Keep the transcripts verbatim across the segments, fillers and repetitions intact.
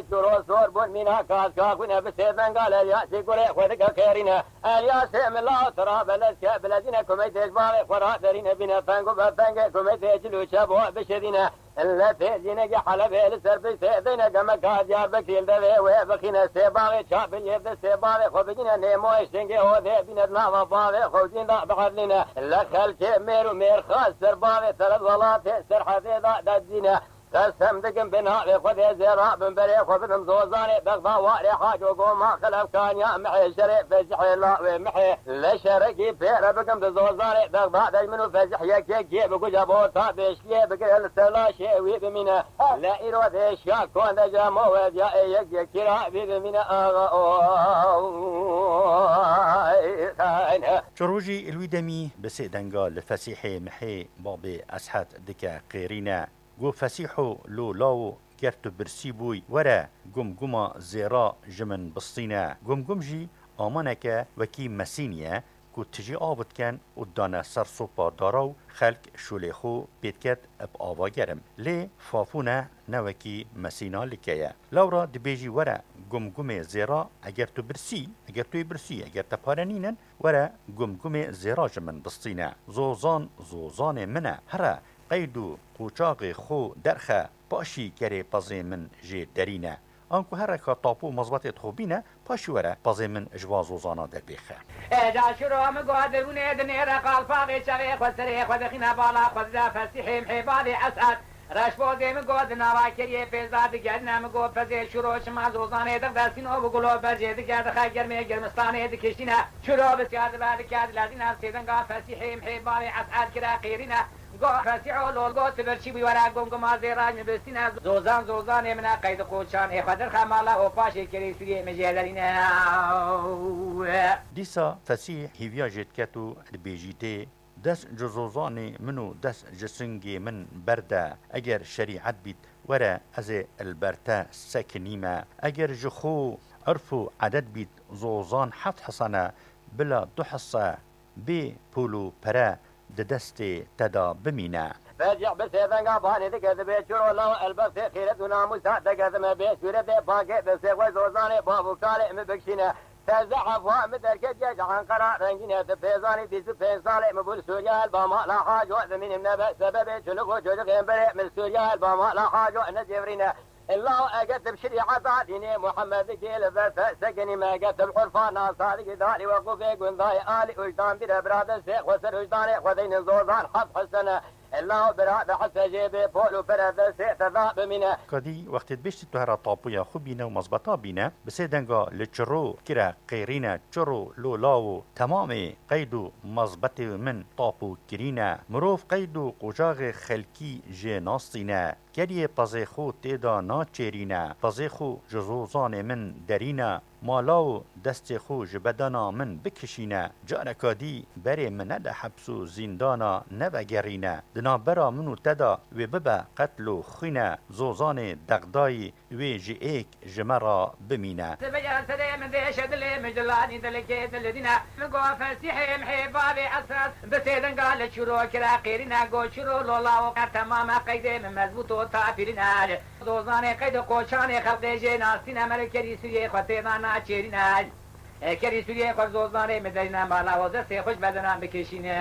Çuro zor bûn mîna kaska xwîne bi sê denga Elyasî gurê xwe dike xêrîne. Elyasê mila û tira belezke bilezîne kumey têj bavê xwe ra derîne bîne feng û befengê kumey têcil û çebo bişirîne. Li têzînekî Helebê li ser piştê deyne gemeka Diyarbekirî li devê wê bixîne sê bavê çabiliyê bi sê bavê xwe bigîne nêmoyê şingê odê bîne di nava bavê xwe û dîn da biedlîne. Li xelkê mêr û mêrxas ser bavê seret welatê serhedê da dedîne. Qesem dikim bi navê Xwedê zêra bin berê xwe bidim zozanê Bexda warê haco goma xelefkaniya mihê şerê fezihê lawê mihê. Li şerekî pêre bikim di zozanê Bexda dej min û fezih yekekiyê bi guca bota beşliyê bigire li ser laşê wî bimîne. Li îro dêşiya konde cemo wediya ê yek yekî ra vî bimîne axa o. Çirojî li wî demî bi sê denga li Fesîhê mihê babê Eshed dike qêrîne. Go Fesîho lo lawo ger tu birsî bûy, were gumguma zêra ji min bistîne. Gumgum jî amaneke wekî mesîn ye ku tijî av diken û dane ser sopa dara û xelk şolê xwe pê diket bi ava germ. Lê fafûne ne wekî mesîna like ye. Lewra dibêjî were gumgumê zêra eger tu birsî, eger tu yê birsî, eger te pare nînin, were gumgumê zêra ji min bistîne. Zozan zozanê min e. Here qeyd û qoçaxê xwe derxe, paşî kerê pezê min jê derîne. Anku here ka tapo mezbetê xwe bîne, paşî were pezê min ji van zozana derbêxe. Êca şiro min got, derûnê dinêre qalpaxê çavê xwe serê xwe dixîne bala xwe dide Fesîhê mihê bavê Esed. Reşbozê min got, di nava keriyê pêzda digerine, min got, pezê şiro çima zozanê dixde sîno bi gulo berjê dike dixe germê germistanê dikişîne. Şiro bisyar dibe dike dilezîne, sêdenga Fesîhê mihê bavê Esed kire qêrîne. Go Fesîho lol go tu birçî bûyî were gumguma zêra ji min bistîne. Zozan zozanê min e qeyd qoçanê xwe derxe mala û paşê kerê sûriyê min jê derîne. Dîsa Fesîh hîviya jê diket û dibêjî tê, dest ji zozanê min û dest ji singê min berde. Eger şerîet bît, were ez ê li ber te sekinîme. Eger ji xwe urf û edet bît, zozan heft hesane bila du hese bê pûl û pere di destê te de bimîne. Fecîh bi sêvenga banê dike dibê çiro law elbextê xîret û namûsa dekezime bê sûretê pakê destê xwe zozanê bav û kalê min bikşîne. Sezde hefwa min derketiye ji Enqera rengîne di pêzanî bîst û pênc salê min bû li Sûriye el ba mala haco dimînim nebe sebebê çoluk û çocixên berê min li Sûriye el ba mala haco necêvrîne. Illa eger tu bi şerîeta dînê Muhemmedikî li ber te sekinî me, eger tu bi urfa nasadikî darî weqûfê gundayê alî ûjdan bîre bira destê xwe ser ûjdanê xwe deynin zozan heft hesene. Illa bira de hese jê bê pol û pere destê te da bimîne. Kadî wextê dibêjtî tu hera tapoya xwe bîne û mezbeta bîne, bi sê denga li çiro kire qêrîne, çiro lo lawo temamê qeyd û mezbetê min tapo kirîne. Mirov qeyd û qocaxê xelkî jê nastîne. Keriyê pezê xwe tê de naçêrîne, pezê xwe ji zozanê min derîne, mala û destê xwe ji bedena min bikişîne, careka dî berê min nede heps û zîndana nevegerîne. Di navbera min û te de wê bibe qetl û xwîne, zozanê dexdayî wê ji êk ji me re bimîne. Sibeya serê min dêşe dilê min ji lanî dilekê dil dîne. Min got Fesîhê mihê bavê Esed, bi sê denga li çiro kire qêrîne, got çiro lola û qer temame qeydê min mezbût û tapîrîne. Zozanê qeyd û qoçanê xelqê jê nastîne, me li kerî Sûriyê xwe tê de naçêrîne. E, kerî Sûriyê xwe zozanê min derîne, mala û destê xwe ji bedena bikişîne.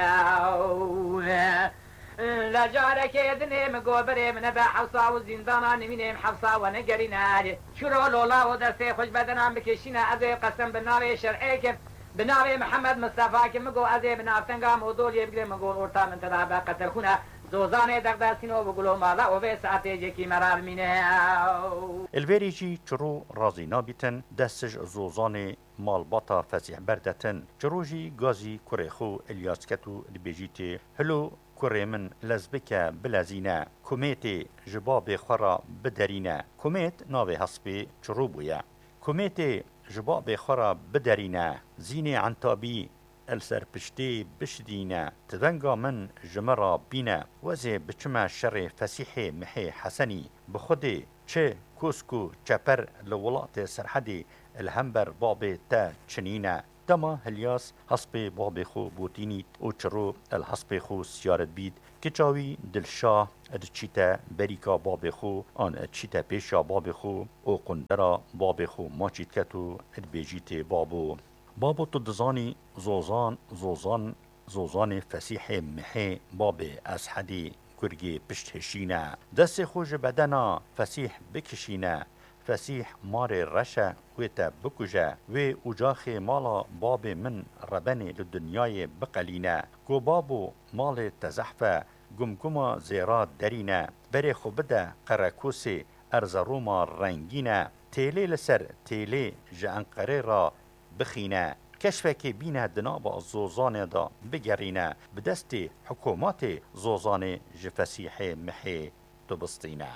Li carekê dinê min got berê min nebe hewsa û zîndana nimînê min hewsa we negerîne. Çiro lola û destê xwe ji bedena bikişîne, ez ê qesem bi navê şer'ê kim, bi navê Mihemed Mistefa kim, min got ez ê bi navtenga Modoliyê bigrim, min got orta min te de be qetelxûne. Zozanê dexdestîno bi gulo mala û vê saetê cekî me ra bimîne. Li vêrê jî çiro razî nabîtin, dest ji zozanê malbata Fesîh berdetin. Çiro jî gazî kurê xwe Ilyas ket û dibêjî tê, hilo kurê min lez bike bilezîne, kumêtê ji babê xwe re biderîne. Kumêt navê hespê çiro bûye. Kumêtê ji babê xwe re biderîne, zînê entabî li ser piştê bişidîne, tivenga min ji min re bîne, wezê biçime şerê Fesîhê mihê Hesenî, bi Xwedê çi kosk û çeper li welatê Serhedê li hember babê te çinîne. Dema Hilyas hespê babê xwe botînît û çiro li hespê xwe siyaret bît, kiça wî Dilşa diçîte berîka babê xwe an diçîte pêşiya babê xwe û qundera babê xwe maçî diket û dibêjîtê babo. Babo, tu dizanî Zozan, Zozan, Zozanê Fesîhê Mihê babê Eshedî kurgê pişt hişîne. Destê xwe ji bedena Fesîh bikişîne. Fesîh marê reş e, wê te bikuje. Wê ucaxê mala babê min rebenê li dinyayê biqelîne. Go babo, malê te zehf e, gumguma zêra derîne. Berê xwe bide Qerekûsê, Erzeroma rengîn e. Têlê li ser têlê ji Enqerê re bixîne. Keşfekê bîne di nava Zozanê de bigerîne, bi destê hikûmetê Zozanê ji Fesîhê Mihê dibistîne.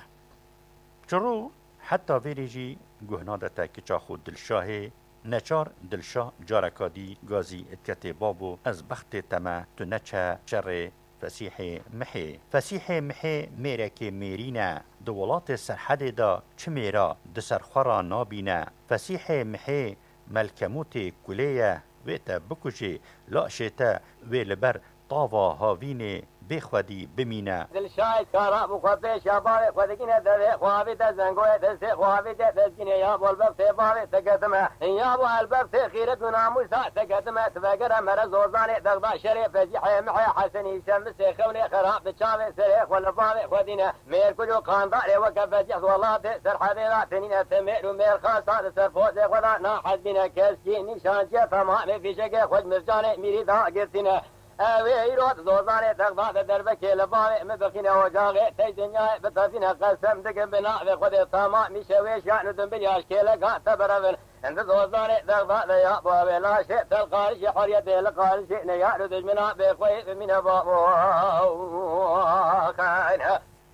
Çiro heta vêrê jî guh nade te kiça xwe Dilşahê. Neçar Dilşah careka dî gazî diketê babo, ez bextê te me, tu neçe şerê Fesîhê Mihê. Fesîhê Mihê mêrekê mêrîn e. Di welatê Serhedê de çi mêra di ser xwe re nabîne. Fesîhê Mihê melkemûtê kulê ye, wê te bikujê, laşê te wê li ber tava havînê bê xwedî bimîne. Dilşahê kara bû xwe pêşa bavê xwe dikine devê xwe avî te zengoyê destê xwe avî te destgînê ya bol bextê bavê te ketime. Ya bo elbextê xîret û namûsa te ketime. Tu vegere mere Zozanê Bexda şerê Fezîhê Mihê Hesenî Şemisê xewnê xerab bi çavê serê xwe li bavê xwe dîne. Mêrkul û qandarê weke Fezîh welatê Serhedê de tenîne te mêr û mêrxasa li ser pozê xwe de nahezbîne. Keskî nîşanciye tamamê fîşekê xwe ji mircanê mîrî da girtîne. Ew ê îro di Zozanê Bexda de derbekê li bavê min bixîne ocaxê tey dinyayê bitefîne. Qesem dikim bi navê Xwedê tamamî şewêşiyan û dimbilya ji kêleka te birevin. Di Zozanê Bexda de ya bo wê laşê te li qarişê huriyetê li qarişê neyar û dijmina bêxweyî bimîne babo.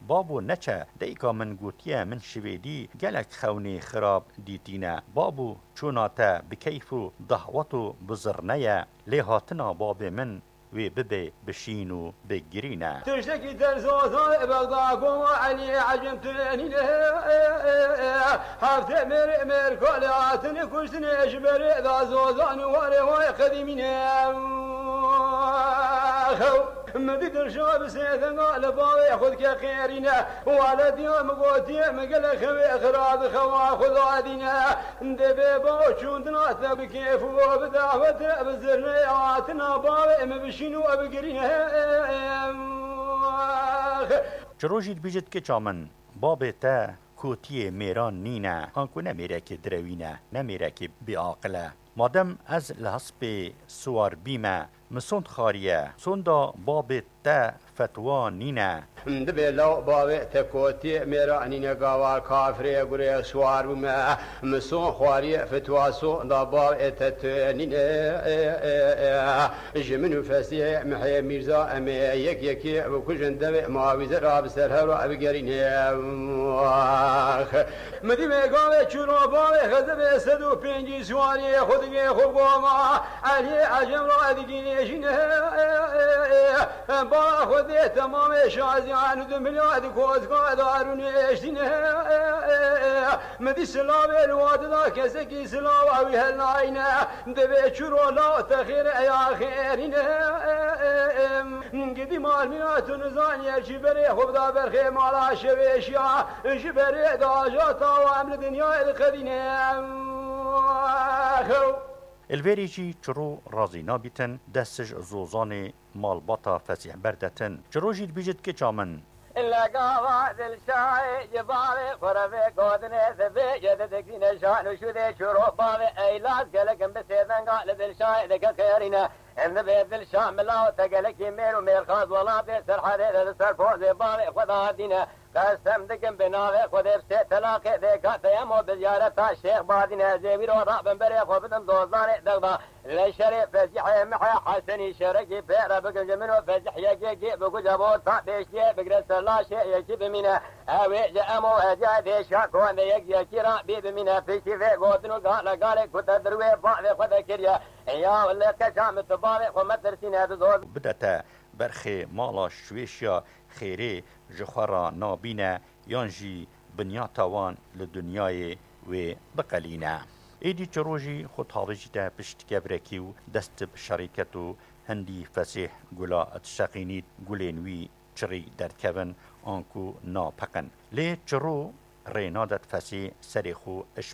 Babo neçe, dayika min gotiye min şivêdî gelek xewnê xirab dîtîne. Babo, çûna te bi keyf û dahwet û bi zirne ye, lê hatina babê min wê bibe bi şîn û bi girîn e. Tiştekî ter Zozan Bexda goma Elî Ecem tenîne. Heftê mêrê mêrkalê hatine kuştinê ji berê da Zozan û warê wayê qedîmîne. Min dî Dilşa bi sê denga li bavê xwe dike qêrîne. Wele diya min gotiye min gelek xewê xira di xewa xwe dadîne. Dê bê baw çûndina te bi kêf û bi dawet e, bi zirnê hatina bavê min bişîn û bigirîne. Çi rojî dibîjit kiça min, babê te kotiyê mêran nîne, anku ne mêrekê direwîn e, ne mêrekê bêaqil e. Madem ez li hespê siwar bîme, min sond xwariye, sonda babê te fetwa nîne. Dibê law bavê te kotiyê mêra nîne gava kafirê gurê siwar bûme. Min son xwariye fetwa sonda bavê te tu nîne. Ji min û Fesîhê Mihê Mîrza em ê yek yekê bikujin devê mawîze ra bi ser hev ra bigerîne. Min dî mêgavê çûro bavê xezebê sed û pêncî siwariyê xwe digê xwe goma Eliyê Ecem ra digînêjîne. Bala xwe dê temamê şaziyan û di milya di kozka darûnê eştîne. Min dî silavê li wadi da kesekî silava wî helnayne. Divê çûro la texêr eya xêrîne. Gidî mal mîna tu nizaniye jî berê xwe bida berxê mala şevêşiya. Ji berê daja tawa em li dinyayê diqedîne. Li vêrê jî çiro razî nabîtin, dest ji Zozanê malbata Fesîh berdetin. Çiro jî dibîjit kiça min. Legava Dilşayê ji bavê xwe re vê gotinê dibê ye didikrîne şan û şûdê çiro bavê eylas gelek in bi sêvenga li Dilşayê dike xêrîne. Em dibê Dilşa mila û te gelekî mêr û mêrxas welatê Serhedê de li ser pozê bavê xwe de hatîne. Qesem dikim bi navê Xwedê bi sê telaqê dêka te yemo bi ziyareta Şêx Badîne ez ê wî ro rabim berê xwe bidim dozanê Dexda. Leşerê Fezîhê Mihê Hesenî şerekî pê re bikim ji min û Fezîh yekekî bi guca bo ta pêştiyê bigire ser laşê yekî bimîne. Ew ê ji em û ez ya dêşa kowendê yek yekî ra bî bimîne. Piştî vê gotin û gale galê ku te di rûyê bavê xwe de kiriye. Ya li keça min tu bavê xwe metirsîne dizoz. Bide te berxê mala şwêşiya xêrê ji xwe re nabîne yan jî binyata wan li dinyayê wê biqelîne. Êdî çiro jî xwe tavêjîte pişt kevirekî û dest bi şerî ket û hindî fesêh gula dişeqînît, gulên wî çirî derdikevin, anku napeqin. Lê çiro rê nadet fesê serê xwe ji